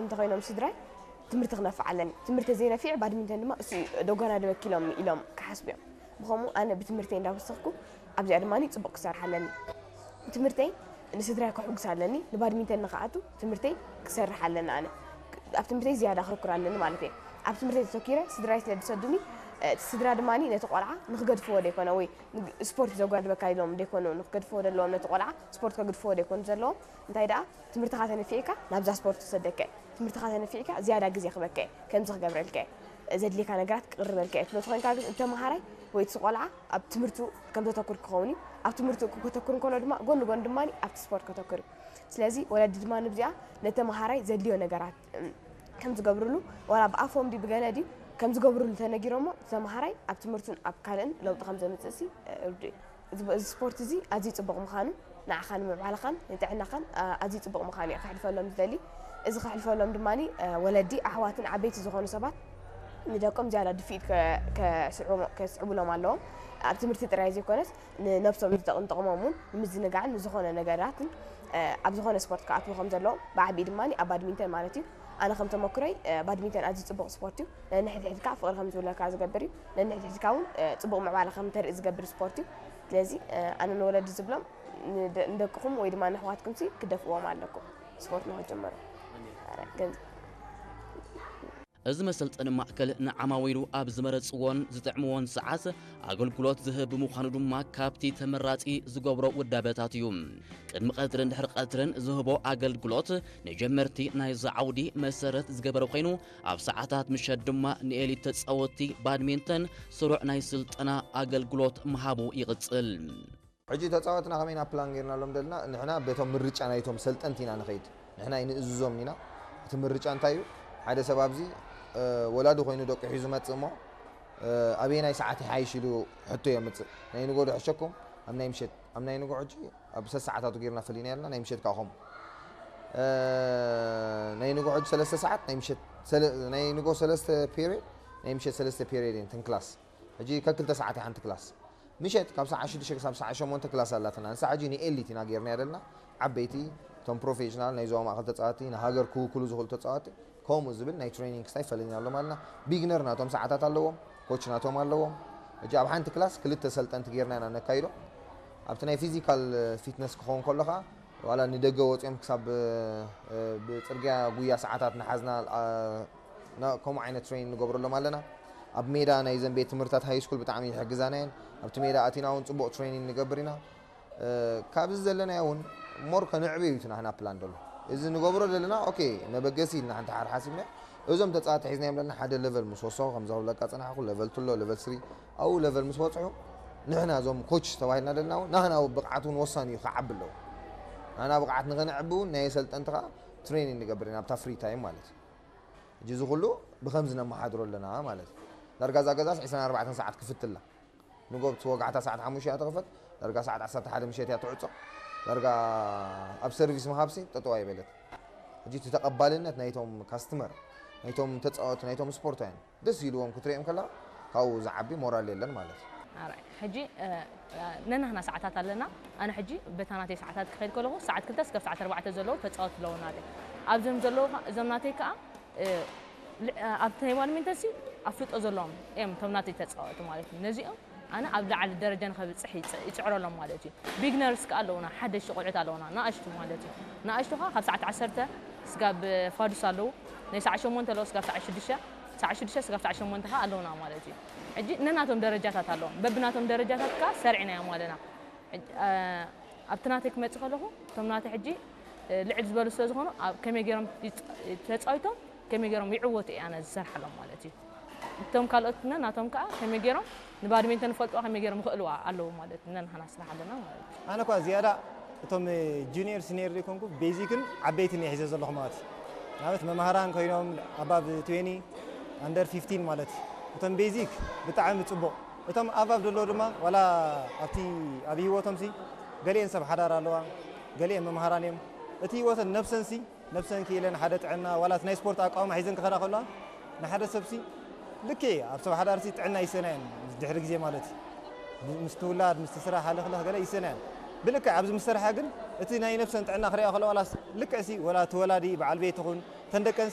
እንተኾይኖም ስድራይ ትምህርቲ ክነፍዕ ኣለኒ፣ ትምህርቲ ዘይነፊዕ ባድሚንተን ድማ እሱ ደጓና ደበኪሎም ኢሎም ክሓስቡ እዮም። ብኸምኡ ኣነ ብትምህርተይ እንዳወሰኽኩ ኣብዚኣ ድማ ጽቡቕ ክሰርሕ ኣለኒ። ትምህርተይ ንስድራይ ከሕጉስ ኣለኒ፣ ንባድሚንተን ንኽኣቱ ትምህርተይ ክሰርሕ ኣለኒ። ኣነ ኣብ ትምህርተይ ዝያዳ ክርኩር ኣለኒ ማለት እየ። ኣብ ትምህርተይ ተተኪረ ስድራይ ስለ ዝሰዱኒ፣ እቲ ስድራ ድማ ነቲ ቆልዓ ንክገድፍዎ ዘይኮነ ወይ ንግ- ስፖርት ዘጓድበካ ኢሎም ዘይኮኑ ንክገድፍዎ ዘለዎም፣ ነቲ ቆልዓ ስፖርት ከግድፍዎ ዘይኮኑ ዘለዎም። እንታይ ደኣ ትምህርትኻ ተነፊዕካ ናብዛ ስፖርት ክሰደካ እየ። ትምህርትኻ ተነፊዕካ ዝያዳ ግዜ ክበካ እየ፣ ከምዚ ክገብረልካ እየ፣ ዘድልየካ ነገራት ክቅርበልካ እየ ትብሎ ተኾይንካ ግን፣ እቲ ተምሃራይ ወይ እቲ ቆልዓ ኣብ ትምህርቱ ከም ዘተኩር ክኸውን እዩ። ኣብ ትምህርቱ ከተኩር እንከሎ ድማ ጎኒ ጎኒ ድማ ኣብቲ ስፖርት ከተኩር እዩ። ስለዚ ወለዲ ድማ ንብዚኣ ነተምሃራይ ዘድልዮ ነገራት እም፣ ከም ዝገብርሉ፣ ዋላ ብኣፎም ድዩ ብገለ ድዩ ከም ዝገብርሉ ተነጊሮሞ፣ እቲ ተምሃራይ ኣብ ትምህርቱን ኣብ ካልእን ለውጢ ከም ዘምፅእ ሲ ርዱ እዩ። እዚ እዚ ስፖርት እዚ ኣዝዩ ጽቡቕ ምዃኑ ንዓኻን ንምዕባለኻን ንጥዕናኻን ኣ- ኣዝዩ ጽቡቕ ምዃኑ እየ ከሕልፈሎም ዝደሊ። እዚ ከሕልፈሎም ድማ ወለዲ፣ ኣሕዋትን ዓበይቲ ዝኾኑ ሰባት ንደቆም ዝያዳ ድፍኢት ከ- ከስዕቦም- ከስዕቡሎም ኣለዎም። ኣብ ትምህርቲ ጥራይ ዘይኮነስ ንነብሶም ዝጠቕም ጥቕሞም እውን ንምዝንጋዕን ንዝኾነ ነገራትን ኣብ ዝኾነ ስፖርት ክኣትዉ ከም ዘለዎም ብዓቢኡ ድማ ኣብ ባድሚንተን ማለት እዩ። ኣነ ከም ተመክሮይ ባድሚንተን ኣዝዩ ጽቡቕ ስፖርት እዩ። ነንሕድሕድካ ፍቕሪ ከም ዝህልወካ ዝገብር እዩ። ነንሕድሕድካ እውን ጽቡቕ ምዕባለ ከም ተርኢ ዝገብር ስፖርት እዩ። ስለዚ ኣነ ንወለዲ ዝብሎም ንደ- ንደቅኹም ወይ ድማ ንኣሕዋትኩም ሲ ክደፍእዎም ኣለኩም ስፖርት ንክጅምሩ። ገንዘብ እዚ መሰልጠኒ ማእከል ንዓማዊሉ ኣብ ዝመረጽዎን ዝጥዕምዎን ሰዓት ኣገልግሎት ዝህብ ብምዃኑ ድማ ካብቲ ተመራጺ ዝገብሮ ውዳበታት እዩ። ቅድሚ ቀትርን ድሕሪ ቀትርን ዝህቦ ኣገልግሎት ንጀመርቲ ናይዚ ዓውዲ መሰረት ዝገበረ ኮይኑ ኣብ ሰዓታት ምሸት ድማ ንኤሊት ተጻወትቲ ባድሚንተን ስሩዕ ናይ ስልጠና ኣገልግሎት ምሃቡ ይቕጽል። ሕጂ ተጻወትና ከመይ ኢና ፕላን ጌርናሎም ደልና ንሕና በቶም ምርጫ ናይቶም ሰልጠንቲ ኢና ንኸይድ ንሕና ኣይንእዝዞም ኢና እቲ ምርጫ እንታይ እዩ ሓደ ሰብ ኣብዚ ወላዲ ኮይኑ ደቂ ሒዙ መጽእ እሞ ኣበየናይ ሰዓት ይሓይሽ ኢሉ ሕቶ የምጽእ ናይ ንጎ ዶ ሕሸኩም ኣብ ናይ ምሸት ኣብ ናይ ንጎ ሕጂ ኣብ ሰለስተ ሰዓታቱ ጌርና ፈሊና ያልና ናይ ምሸት ከዓ ከምኡ ናይ ንጎ ሕጂ ሰለስተ ሰዓት ናይ ምሸት ናይ ንጎ ሰለስተ ፔሪድ ናይ ምሸት ሰለስተ ፔሪድ እየን ትንክላስ ሕጂ ከክልተ ሰዓት ሓንቲ ክላስ ምሸት ካብ ሰዓ ሽዱሽተ ክሳብ ሰዓ ሸሞንተ ክላስ ኣላትና ንሳ ሕጂ ንኤሊት ኢና ጌርና ያለና ዓበይቲ እቶም ፕሮፌሽናል ናይ ዞባ ማእኸል ተፃዋቲ ንሃገር ክውክሉ ዝኽእሉ ተፃዋቲ ከምኡ ዝብል ናይ ትሬኒንግ ስታይ ፈለኒናሎም ኣለና ቢግነር ናቶም ሰዓታት ኣለዎም ኮች ናቶም ኣለዎም ሕጂ ኣብ ሓንቲ ክላስ ክልተ ሰልጠንቲ ጌርና ኢና ነካይዶ ኣብቲ ናይ ፊዚካል ፊትነስ ክኸውን ከሎ ከዓ ዋላ ንደገ ወፂኦም ክሳብ ብፅርግያ ጉያ ሰዓታት ንሓዝና ከምኡ ዓይነት ትሬኒንግ ንገብረሎም ኣለና ኣብ ሜዳ ናይ ዘን ቤት ትምህርታት ሃይ ስኩል ብጣዕሚ ይሕግዛና እየን ኣብቲ ሜዳ ኣቲና እውን ፅቡቅ ትሬኒንግ ንገብር ኢና ካብዚ ዘለናዮ እውን ሞር ከነዕብዮ እዩ ናህና ፕላን ዘሎ እዚ ንገብሮ ዘለና ኦኬ መበገሲ ኢልና ሓንቲ ሓር ሓሲብና እዞም ተፃዋቲ ሒዝናዮም ዘለና ሓደ ለቨል ምስ ወሰኹ ከምዚ ክብለካ ፅናሕኩ ለቨል ቱ ኣሎ ለቨል ስሪ ኣብኡ ለቨል ምስ በፅሑ ንሕና እዞም ኮች ተባሂልና ዘለና እውን ናህና ብቕዓት እውን ወሳኒ እዩ ክዓቢ ኣለዎ ናህና ብቕዓት ንኸነዕቢ እውን ናይ ኣሰልጠንቲ ከዓ ትሬኒንግ ንገብር ኢና ኣብታ ፍሪ ታይም ማለት እዩ ሕጂ እዚ ኩሉ ብከምዚ ነመሓድሮ ኣለና ማለት እዩ ዳርጋ እዛ ገዛስ ዕስራን ኣርባዕተን ሰዓት ክፍትላ ንጎ ብቲ ወጋሕታ ሰዓት ሓሙሽተ እያ ትኽፈት ዳርጋ ሰዓት ዓሰርተ ሓደ ምሸት እያ ትዕጾ ዳርጋ ኣብ ሰርቪስ ምሃብሲ ጠጠው ኣይበለት ሕጂ እቲ ተቐባልነት ናይቶም ካስትመር ናይቶም ተፃወቲ ናይቶም ስፖርታውያን ደስ ኢልዎም ክትሪኦም ከላ ካብኡ ዝዓቢ ሞራል የለን ማለት እዩ ሕጂ ነናህና ሰዓታት ኣለና ኣነ ሕጂ በታ ናተይ ሰዓታት ክኸይድ ከለኹ ሰዓት ክልተ እስከብ ሰዓት ኣርባዕተ ዘለዉ ተፃወት ኣለዉ ናተይ ኣብዞም ዘለዉ እዞም ናተይ ከዓ ኣብቲ ናይ ባድሚንተን ሲ ኣፍልጦ ዘለዎም እዮም እቶም ናተይ ተፃወቲ ማለት እዩ ነዚኦም ኣነ ኣብ ላዕሊ ደረጃ ንኸብፅሕ ይፅዕረሎም ማለት እዩ ቢግነርስ ከዓ ኣለውና ሓደሽቲ ቆልዑት ኣለውና ንኣሽቱ ማለት እዩ ንኣሽቱ ከዓ ካብ ሰዓት ዓሰርተ ስጋብ ፋዱስ ኣለዉ ናይ ሰዓት ሸሞንተ ኣለዉ ስጋብ ሰዓት ሽዱሽተ ሰዓት ሽዱሽተ ስጋብ ሰዓት ሸሞንተ ከዓ ኣለውና ማለት እዩ ሕጂ ነናቶም ደረጃታት ኣለዎም በብናቶም ደረጃታት ከዓ ሰርዒናዮም ኣለና ኣብቲ ናተይ ክመፅእ ከለኹ እቶም ናተይ ሕጂ ልዕል ዝበሉ ስለ ዝኾኑ ከመይ ገይሮም ተፃዊቶም ከመይ ገይሮም ይዕወቱ እየ ኣነ ዝሰርሓሎም ማለት እዩ እቶም ካልኦት ናቶም ከዓ ከመይ ገይሮም ንባድሜንተን ይፈልጥዋ ከመይ ገይሮም ይኽእልዋ ኣለዉ ማለት እዩ ነንሕና ስራሕ ኣለና ማለት እዩ ኣነ ኳ ዝያዳ እቶም ጁኒየር ሲኒየር ዘይኮንኩ ቤዚክን ዓበይትን እየ ሒዘ ዘለኹ ማለት እዩ ንኣብነት መምሃራን ኮይኖም ኣባብ ትዌኒ ኣንደር ፊፍቲን ማለት እዩ እቶም ቤዚክ ብጣዕሚ ፅቡቕ እቶም ኣባብ ዘለዉ ድማ ዋላ ኣብቲ ኣብ ህይወቶም ሲ ገሊአን ሰብ ሓዳር ኣለዋ ገሊአን መምሃራን እዮም እቲ ህይወተን ነብሰን ሲ ነብሰን ክኢለን ሓደ ጥዕና ዋላ ናይ ስፖርት ኣቃውማ ሒዘን ክኸዳ ከለዋ ንሓደ ሰብሲ ልክዕ ኣብ ሰብ ሓዳርሲ ጥዕና ይሰናየን ድሕሪ ግዜ ማለት እዩ ምስ ትውላድ ምስ ትስራሕ ሃለኽለኽ ገለ ይሰናየን ብልክዕ ኣብዚ ምስ ሰርሓ ግን እቲ ናይ ነብሰን ጥዕና ክሪኣ ከለዋ ዋላስ ልክዕሲ ወላ እቲ ወላዲ በዓል ቤት ትኹን ተን ደቀን